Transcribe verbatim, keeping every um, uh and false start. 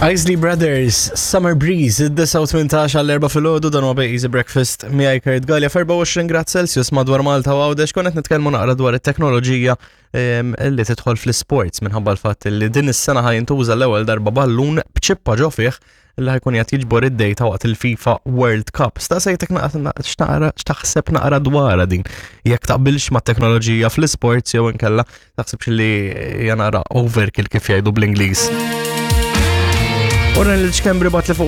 Isley Brothers, Summer Breeze, id-disgħa u tmintax għall-erbgħa filgħodu, dan huwa Easy Breakfast miegħi Kurt Galea, f'erbgħa u għoxrin grad Celsius madwar Malta u Għawdex. Konna qed nitkellmu naqra dwar it-teknoloġija em, li tidħol fl-sports minħabba l-fatt li din is-sena ħa jintuża l-ewwel darba ballun b'ċippa ġo fih li ħa jkun qed jiġbor id-data waqt il-FIFA World Cup. Staqsejtek naqra x'naqra x'taħseb naqra dwarha din. Jekk taqbilx ma' teknoloġija fl-sports jew inkella taħsibx li hija naqra overkill, kif jgħidu bl-Ingliż. Ora l-ċkembri bat li fuq.